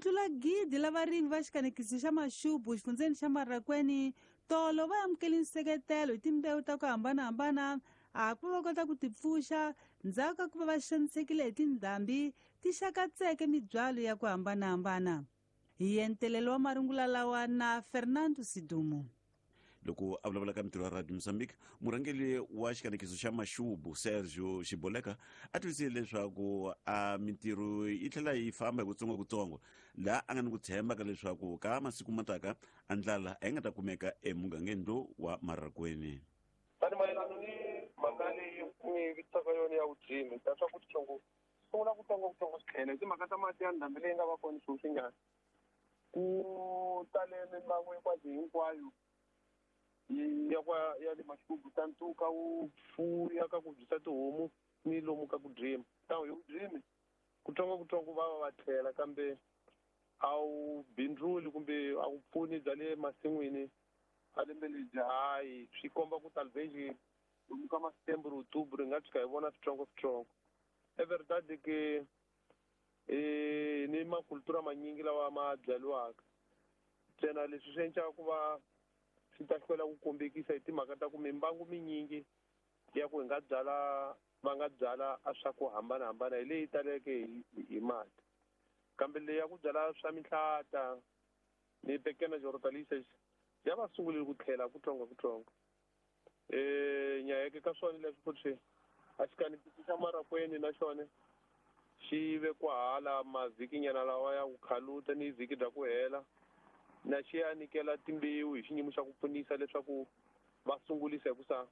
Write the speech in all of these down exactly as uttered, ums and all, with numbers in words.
tlula gidi la varimi va xikanekiso xa Maxubu xifundzeni xa Marracuene tolo va amukele nseketelo hi timbewu ta ku hambanahambana a ku va kota ku tipfuxa ndzhaku ka ku va va xanisekile hi tindhambi ti xakatseke mibyalo ya ku hambanahambana. Hi entelelo wa marungula lawa na Fernando Sidumo. Loko a vulavula ka mintirho ya Radio Mozambique, murhangeri wa xikanekiso xa Maxubu Sergio Xiboleka a tivisile leswaku a mintirho yi tlhela yi famba hi kutsongokutsongo, laha a nga ni ku tshemba ka leswaku ka masiku mataka a ndlala a yi nga ta kumeka emugangeni lowu wa Marracuene. Tani mayelana ni mhaka leyi mi vitisaka yona ya vudzimi ta swa ku tsongo sungula kutsongokutsongo swi tlhela hi timhaka ta mati ya ndhambi leyi nga va kona sweswinyana ku tale mimbangu hinkwayo hinkwayo ya kwa ya le Maxubu ta ntuka wu fuya ka ku byisa tihomu ni lomu ka ku drima ta hi ku drimi kutsongokutsongo va va va tlhela kambe a wu bindzuli kumbe a wu pfuni bya le masin'wini a lembe lebyi hayi swi komba ku talvez lomu ka ma-September October hi nga tshuka hi vona switsongo-switsongo. É verdade que eh ni makultura manyingi lawa ma byariwaka ntsena leswi swi endlaka ku va swi ta hlwela ku kombekisa hi timhaka ta ku mimbangu minyingi ya ku hi nga byala va nga byala a swa ku hambanahambana hi leyi taleke hi hi mati kambe leyi ya ku byala swa mihlata ni pequenas hortaliças ya va sungulile ku tlhela kutsongokutsongo. Eh nyayeke ka swona leswi futhi a xikanekiso xa Marracuene na xona xi ve kwahala mavhikinyana lawa ya ku khaluta ni vhiki bya ku hela na xi ya nyikela timbewu hi xiyimo xa ku pfunisa leswaku va sungulisa hi ku sa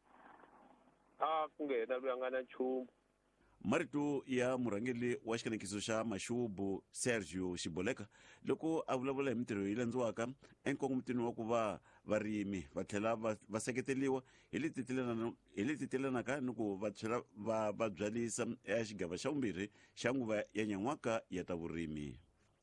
a ku nge hena loyi a nga na nchumu. Marito ya murhangeri wa xikanekiso xa Maxubu Sergio Xiboleka loko a vulavula hi mintirho yi landziwaka enkongomitini wa ku va varimi va tlhela va va seketeriwa hi leti tilelana hi leti tilelanaka ni ku va tlhela va va byalisa eka xigava xa vumbirhi xa nguva ya nyan'waka ya ta vurimi.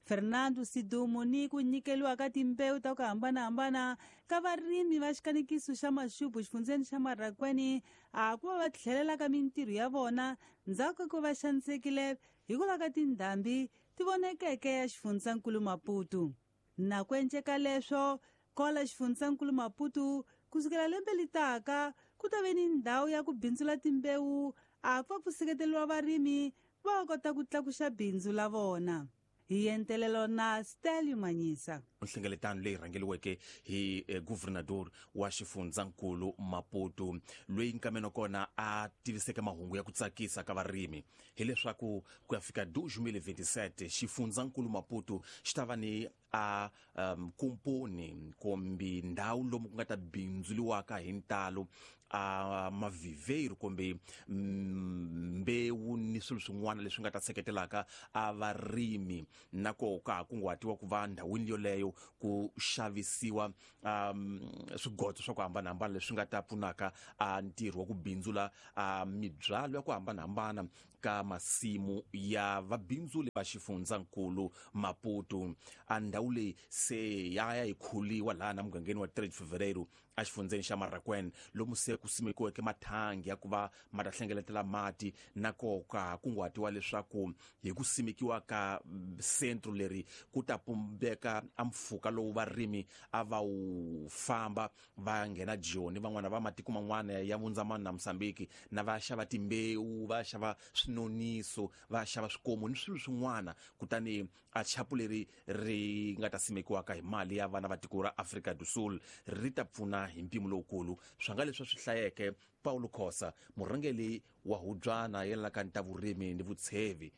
Fernando Sidumo ni ku nyikeliwa ka timbewu ta ku hambanahambana ka varimi va xikanekiso xa Maxubu xifundzeni xa Marracuene a ku va va tlhelela ka mintirho ya vona ndzhaku ka ku va xanisekile hikuva ka tindhambi ti vonekeke ya xifundzankulu Maputo. Na ku enceka leswo kola xifundzankulu Maputo kusukela lembe litaka ku ta ve ni ndhawu ya ku bindzula timbewu a ku va ku seketeriwa varimi va kota ku tlakuxa bindzu la vona. Hi entelelo na Stelio Manyisa. Nhlengeletano leyi rhangeriweke hi eh, governador wa xifundzankulu Maputo loyi nkameno kona a tiviseke mahungu ya ku tsakisa ka varimi hileswaku ku ya fika dois mil e vinte e sete xifundzankulu Maputo xi ta va ni a um, kumponi kumbe ndhawu lomu ku nga ta bindzuliwaka hi ntalo a maviveiro kumbe mbewu ni swilo swin'wana leswi nga ta seketelaka a varimi na koho ka ha kunguhatiwa ku va ndhawini yoleyo ku xavisiwa um, swigodzo swa ku hambanahambana leswi nga ta pfunaka a ntirho wa ku bindzula a mibyalo ya ku hambanahambana ka masimu ya vabindzuli va xifundzankulu Maputo. A ndhawu leyi se ya ya yi khuliwa laha na mugangeni wa três de Fevereiro a xifundzeni xa Marracuene lomu se ku simekiweke mathangi ya ku va ma ta hlengeletela mati na koho ka kunguhatiwa leswaku hi ku simekiwa ka centro leri ku ta pumbeka a mpfhuka lowu varimi a va wu famba va nghena Joni van'wana va matiko man'wana ya Vundzamani na Mozambique na va xava timbewu va xava swinoniso va xava swikomu ni swilo swin'wana kutani a chapu leri ri nga ta simekiwaka hi mali ya vana va tiko ra Afrika do Sul ri ta pfuna hi mpimo lowukulu swa nga leswi swi hlayeke Paulo Khosa murhangeri wa hubyana yelanaka ni ta vurimi ni vutshevi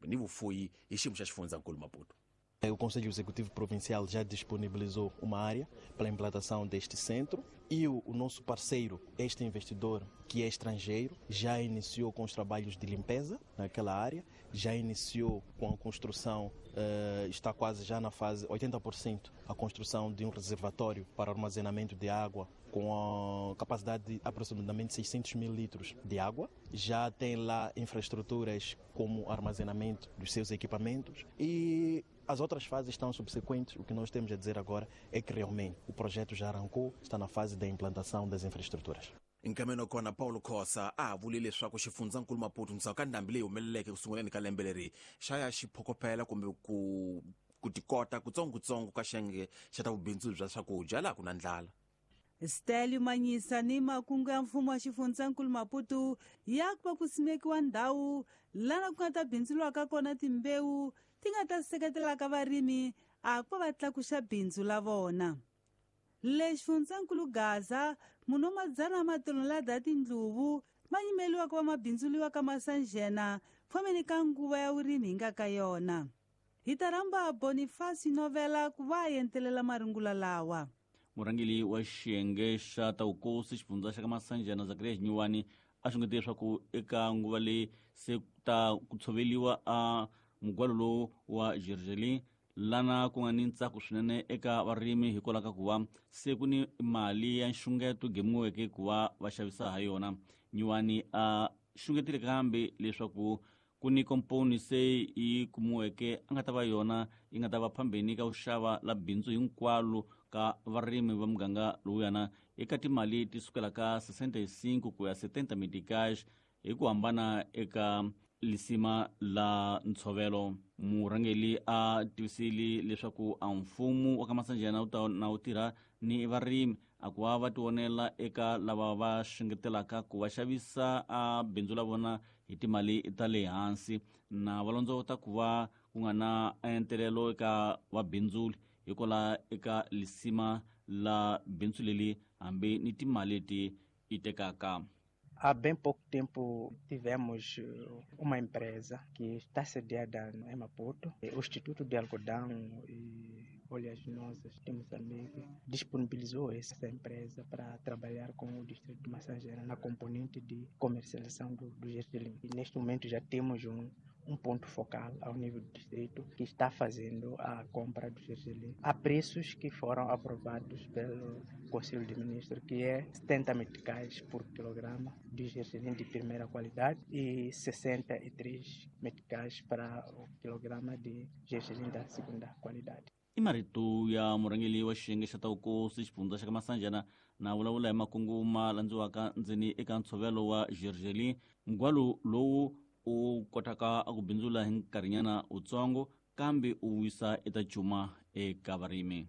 ni vufuyi hi xiyimo xa xifundzankulu Maputo. O Conselho Executivo Provincial já disponibilizou uma área para a implantação deste centro e o, o nosso parceiro, este investidor que é estrangeiro, já iniciou com os trabalhos de limpeza naquela área, já iniciou com a construção, eh, está quase já na fase oitenta por cento, a construção de um reservatório para armazenamento de água com a capacidade de aproximadamente seiscentos mil litros de água. Já tem lá infraestruturas como armazenamento dos seus equipamentos e as outras fases estão subsequentes. O que nós temos a dizer agora é que realmente o projeto já arrancou, está na fase da implantação das infraestruturas. Nkameno kona Paulo Khosa a vule leswaku xifundzankulu Maputo ndzhaku ka ndhambi leyi humeleleke ku sunguleni ka lembe leri xa ya xi phokopela kumbe ku ku tikota kutsongokutsongo ka xiyenge xa ta vubindzu bya swakudya laha ku na ndlala. Stelio Manyisa ni makungu ya mfumo wa xifundzankulu Maputo ya ku va ku simekiwa ndhawu lana ku nga ta bindzuriwaka kona timbewu ti nga ta seketelaka varimi a ku va va tlakuxa bindzu la vona. Le xifundzankulu Gaza munhu wa madzana matonelada ya tindluvu ma yimeliwa ku va ma bindzuriwa ka Masanjena fomeni ka nguva ya vurimi hi nga ka yona. Hi ta rhamba Boniface Novela ku va a entelela marungula lawa. Murhangeri wa xiyenge xa ta vukosi xifundza xa ka Masanjena Zakaria Xinyuwani a xungete leswaku eka nguva leyi se ta ku tshoveliwa a mugwalo lowu wa gergelin lana ku nga ni ntsako swinene eka varimi hikwalaho ka ku va se ku ni mali ya nxungeto gemiweke ku va va xavisa ha yona. Nyuwani a xungetile kambe leswaku ku ni komponi se yi kumiweke a nga ta va yona yi nga ta va phambeni ka ku xava la bindzu hinkwalo ka varimi va muganga lowuyana eka timali ti sukela ka sessenta e cinco ku ya setenta meticais hi ku hambana eka lisima la ntshovelo. Murhangeri a tivisile leswaku a mfumo wa ka Masanjena wu ta na wu tirha ni varimi a ku va va tivonela eka lava va xungetelaka ku va xavisa a bindzu la vona hi timali ta le hansi na va londzovota ku va ku nga na entelelo eka vabindzuli hikwalaho eka lisima la bindzu leri hambi ni timali leti yi tekaka. Há bem pouco tempo tivemos uma empresa que está sediada em Maputo, o Instituto de Algodão e Oleaginosas de Moçambique, disponibilizou essa empresa para trabalhar com o distrito de Massangena na componente de comercialização do, do gergelim. E neste momento já temos um, um ponto focal ao nível do distrito que está fazendo a compra do gergelim a preços que foram aprovados pelo Conselho de Ministros, que é setenta meticais por quilograma de gergelim de primeira qualidade e sessenta e três meticais para o quilograma de gergelim da segunda qualidade. I marito ya murhangeri wa xiyenge xa ta vukosi xifundza xa ka Masanjena na vulavula hi makungu ma landziwaka ndzeni eka ntshovelo wa gergelin, mugwalo lowu u kotaka ku bindzula hi nkarhinyana wutsongo kambe u wisa eta cuma eka varimi.